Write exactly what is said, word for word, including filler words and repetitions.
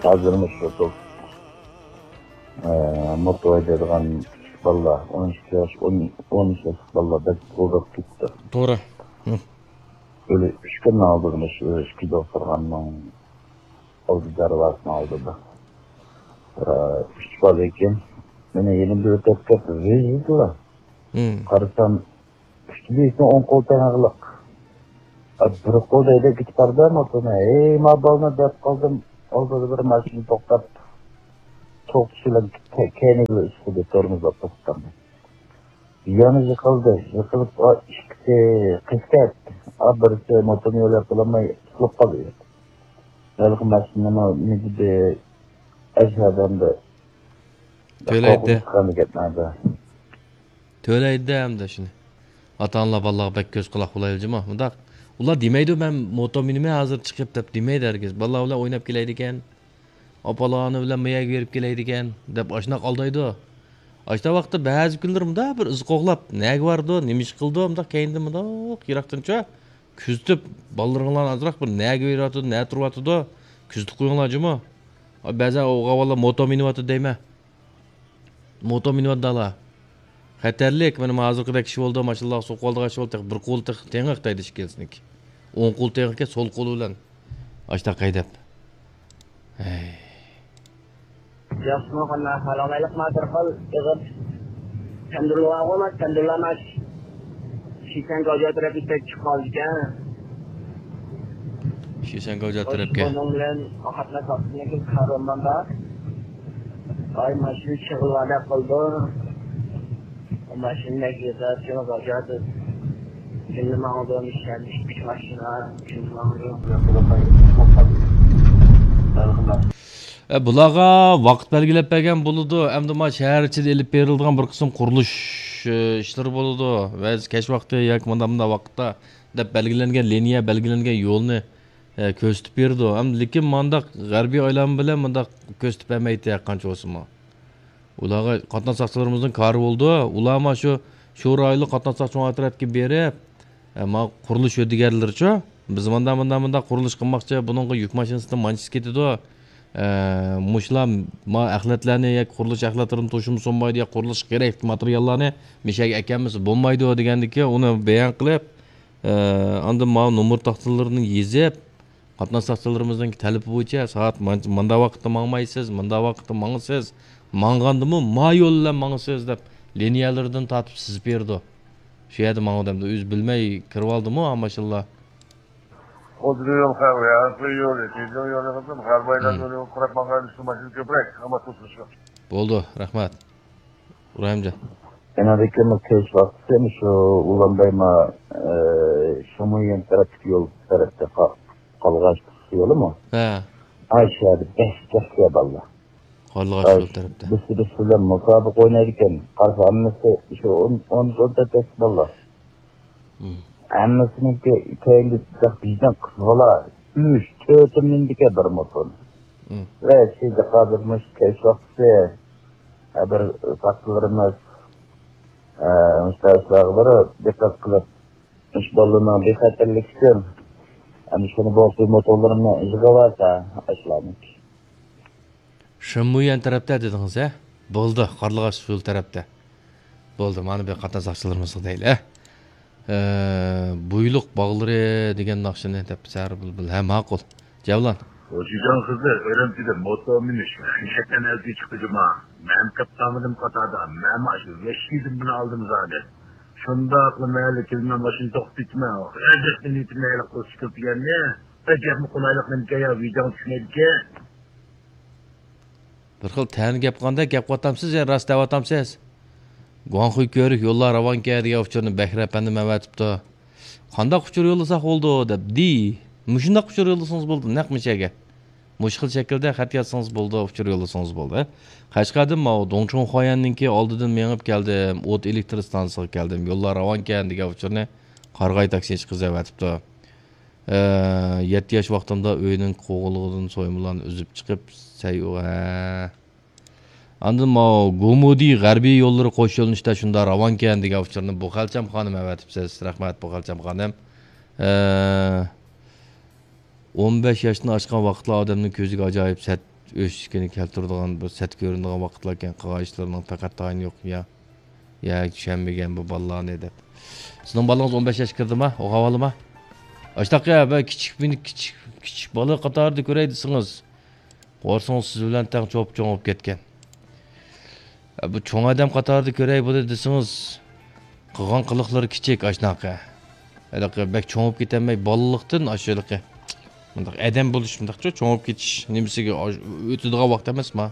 ھازىر مۇشۇ، ئە، موتو ھەيدەيدىغان بالىلار، ئون ئىككى ياش، ئون، ئون ئۈچ ياشلىق بالىلار بەك غۇدۇپ كېتىپتۇ. توغرا. ھە. ئۆلە ئۈچ كۈننىڭ ئالدىدا مۇشۇ ئىككى دوختۇرخانىنىڭ ئالدى دەرۋازىسىنىڭ ئالدىدا، ئە، ئۈچ بالا ئىكەن. مېنى يېنىمدا ئۆتۈپ كەپ ۋىژىدىلا. ھە. قارىسام، ئۈچ بىرسى ئوڭ قول تېڭىغلىق. ئا، بىر قول ھەيدەپ كېتىپ بارىدۇ موتونى. ھەي، ما بالىنى دەپ قالدىم. ئالدىدا بىر ماشىنا توختاپ، توختىشى بىلەن كە-، كەينىگە ئىشقىدى، تورمۇزلاپ توختىتالماي. يەنە يىقىلدى. يىقىلىپ، ئا، ئىككىسى قېچىپ كەتتى. ئا، بىرسى موتونى يۆلەپ بولالماي تۇتۇلۇپ قالدى. ھېلىقى ماشىنىمۇ مىجىدى ئەشەدەمدە. تۆلەيدۇ. قورقۇنچ چىققاندا گەپلەردە. تۆلەيدۇ ئەمدى شۇنى. ئاتا-ئانىلار بالىلارغا بەك كۆز-قۇلاق بولايلى جۇمۇ. مۇنداق، ئۇلار دېمەيدۇ، «مەن موتو مىنىمەن ھازىر چىقىپ» دەپ دېمەيدۇ ھەرگىز. بالىلار بىلەن ئويناپ كېلەيدىكەن، ئاپا-ئانا بىلەن ما يەرگە بېرىپ كېلەيدىكەن دەپ ئاشۇنداق ئالدايدۇ. ئاشۇنداق ۋاقىتتا بەزى كۈنلىرى مۇنداق بىر ئىز قوغلاپ، نەگە بارىدۇ، نېمە ئىش قىلىدۇ، مۇنداق كەينىدىن مۇنداق يىراقتىنچۇ كۆزىتىپ، بالىلىرىڭلارنى ئازراق بىر نەگە بېرىۋاتىدۇ، نەدە تۇرۇۋاتىدۇ، كۆزىتىپ قويۇڭلار جۇمۇ. بەزەن ئوغۇل بالىلار موتو مىنىۋاتىدۇ دەيمەن. موتو مىنىۋاتىدۇ ئالا. خەتەرلىك، مانا ھازىرقىدەك ئىش بولدى، ماشىنىلارغا سوقۇۋالىدىغان ئىش بولدى، تېخى بىر قولى تېخى تېڭىق دەيدۇ ئىككىلىسىنىڭكى. ئوڭ قول تېڭىقكەن، سول قولى بىلەن ئاشتاق ھەيدەپ. ھەي. ياخشىمۇ قانداق؟ ھالال ئايلىق ما بىر خىل ئېغىر تەندۇرلۇق بارغۇ، ما تەندۇرلار ما شىشەن گاۋجا تەرەپكە كەپ چىقىپ قالىدىكەن. شىشەن گاۋجا تەرەپكە. بۇنىڭ بىلەن قاتناش ۋاقتىدىن كېيىن كارۋانماندا. ئاي، ماشىنا شىغىلۋادە قىلىدۇ. ماشىنا نەگىزا شۇنى غاجاتىز. كۈندە ماڭىدۇ، مىشەن ئىككى ماشىنا كۈندە ماڭىدۇ. ئە، بۇلارغا ۋاقىت بەلگىلەپ بەرگەن بولىدۇ. ئەمدى ما شەھەر ئىچىدە ئېلىپ بېرىلىدىغان بىر قىسىم قۇرۇلۇش، ئە، ئىشلىرى بولىدۇ. ۋە كەچ ۋاقتى ياكى مۇنداق، مۇنداق ۋاقىتتا دەپ بەلگىلەنگەن لىنىيە، بەلگىلەنگەن يولنى، ئە، كۆرسىتىپ بېرىدۇ. ئەمدى لېكىن مانداق غەربىي ئايلانما بىلەن مۇنداق كۆرسىتىپ بەرمەيتتى ھەرقانچە بولسىمۇ. ئۇلارغا قاتناش ساقچىلىرىمىزنىڭ كارى بولىدۇ. ئۇلار ما شۇ، شۇ رايونلۇق قاتناش ساقچى ئىدارە تەرەپكە بېرىپ، ئە، ما قۇرۇلۇش ھۆددىگەرلىرىچۇ، بىز مۇنداق، مۇنداق، مۇنداق قۇرۇلۇش قىلماقچى، بۇنىڭغا يۈك ماشىنىسىدىن مانچىسى كېتىدۇ. ئە، مۇشۇلار ما ئەخلەتلەرنى ياكى قۇرۇلۇش ئەخلەتلىرىنى توشۇمىسا بولمايدۇ، يا قۇرۇلۇشقا كېرەكلىك ماتېرىياللارنى مىشەگە ئەكەلمىسە بولمايدۇ دېگەندىكى ئۇنى بايان قىلىپ، ئە، ئاندىن ماۋۇ نومۇر تاختىلىرىنى يېزىپ، قاتناش ساقچىلىرىمىزنىڭ تەلىپى بويىچە سائەت مانچە-، ماندا ۋاقىتتا ماڭمايسىز، ماندا ۋاقىتتا ماڭىسىز، ماڭغاندىمۇ ما يول بىلەن ماڭىسىز دەپ لىنىيەلىرىدىن تارتىپ سىزىپ بېرىدۇ. شۇ يەردە ماڭىدۇ ئەمدى ئۆزى بىلمەي كىرىۋالدىمۇ ھە ماشىنىلار. خۇددى يول خەۋ-، يا، يولى، تېزلىك يولى قىلسام، غەربىي ئايلان يولى قۇرۇپ ماڭغان ئۈچۈن ماشىنا كۆپرەك، ئەمما توسۇلۇش يوق. بولدى، رەھمەت. ئىبراھىمجان. يەنە بىر كۈنلۈك كەچ ۋاقتىسى مۇشۇ ئۇلانباي ما، ئە، شۇمۇيەن تەرەپتىكى يول تەرەپتە قا-، قالغاچ يولىمۇ؟ ھە. ئاشۇ يەردە بەس، بەس يا باللا. قارلىغاچ ئاي، يول تەرەپتە. بىسى بىسى بىلەن مۇسابىقە ئوينايدىكەن. قارىسا ھەممىسى شۇ ئون، ئون، ئون تۆت ياش باللا. مم. ھەممىسىنىڭكى كەينىدە بىزدىن قىز بالا ئۈچ، تۆتى مىندىكەن بىر موتور. مم. ۋە سىدىق ھازىر مۇشۇ كەچ ۋاقتىسى، ھە، بىر ساقچىلىرىمىز، ھە، مۇشۇ ئىشلارغا بىر دىققەت قىلىپ، مۇشۇ بالىلارنىڭ بىخەتەرلىكى ئۈچۈن، ھە، مۇشۇنى بولسا موتورلىرىمنى يىغىۋالسا، ئاشۇلارنىڭكى. شېنمۇيۈەن تەرەپتە دېدىڭىز، ھە؟ بولدى، قارلىغاچ يول تەرەپتە. بولدى، مانا بۇ قاتناش ساقچىلىرىمىزغا دەيلى، ھە؟ ئە، بۇيلۇق باغلىرى دېگەن ناخشىنى دەپ سەھەر بۇلبۇل. ھە، ماقۇل. جەۋلان. شىجاڭ قىزى ئۈرۈمچىدە موتور مىنىش، يەتتە ئەلگە چىقتى جۇما. مەن قېپقالمىدىم قاتاردا، مەن ئاشۇ ۋەھشىيدىن بۇنى ئالدىم زادى. شۇنداقلا مەھەللە كىرىمىنىڭ ماشىنا توختىتىمە، ئەجەب نىيىتىم مەيلى قىلسا كۆپىگەننى، ئەجەبمۇ قولايلىق نېمىكەن يا، ۋىجدان چۈشمەيدىكەن. بىر خىل تەنە گەپ قىلغاندەك گەپ قىلىۋاتامسىز يا راست دەۋاتامسىز؟ گۇاڭخۇي كۆۋرۈك يوللار راۋانكەن دېگەن ئۇچۇرنى بەكرى ئەپەندىم ئەۋەتىپتۇ. قانداق ئۇچۇر يوللىساق بولىدۇ دەپ دېدى. مۇشۇنداق ئۇچۇر يوللىسىڭىز بولىدۇ، نەق مۇشۇ يەرگە. مۇشۇ خىل شەكىلدە خەت يازسىڭىز بولىدۇ، ئۇچۇر يوللىسىڭىز بولىدۇ. قەشقەردىن ماۋۇ دۇڭچۇڭخۇەننىڭكى ئالدىدىن مېڭىپ كەلدىم، ئوت ئېلېكتر ئىستانسىسىغا كەلدىم، يوللار راۋانكەن دېگەن ئۇچۇرنى قارىغاي تاكسىچى قىز ئەۋەتىپتۇ. ئە، يەتتە ياش ۋاقتىمدا ئۆينىڭ قوغۇنلۇقىدىن سويمىلارنى ئۈزۈپ چىقىپ، سەي-، ھە. ئاندىن ماۋۇ گومۇدى غەربىي يوللىرى قوش يۆنىلىشتە شۇنداق راۋانكەن دېگەن ئۇچۇرنى بۇخەلچەم خانىم ئەۋەتىپسىز. رەھمەت، بۇخەلچەم خانىم. ئە، ئون بەش ياشتىن ئاشقان ۋاقىتلار ئادەمنىڭ كۆزىگە ئاجايىپ سەت ئۆسۈشكىنى كەلتۈرىدىغان، بىر سەت كۆرۈنىدىغان ۋاقىتلار ئىكەن، قىلغان ئىشلىرىنىڭ تاقەت تايىنى يوق. يا، يا چۈشەنمىگەن بۇ بالىلارنى دەپ. سىزنىڭ بالىڭىز ئون بەش ياشقا كىردىما؟ ئوخۇۋالىما؟ ئاشتاق يا، بە كىچىك، مېنى كىچىك، كىچىك بالا قاتارىدا كۆرەي دېسىڭىز، قورسىڭىز سىز بىلەن تەڭ چوپ-چوڭ بولۇپ كەتكەن. بۇ چوڭ ئادەم قاتارىدا كۆرەي بۇنى دېسىڭىز، قىلغان قىلىقلىرى كىچىك ئاشۇنداق. ھېلىقى بەك چوڭ بولۇپ كېتەلمەي، بالىلىقتىن ئاشۇ ھېلىقى مۇنداق ئادەم بولۇش، مۇنداقچۇ، چوڭ بولۇپ كېتىش نېمىسىگە ئاش-، ئۆتىدىغان ۋاقىت ئەمەسما.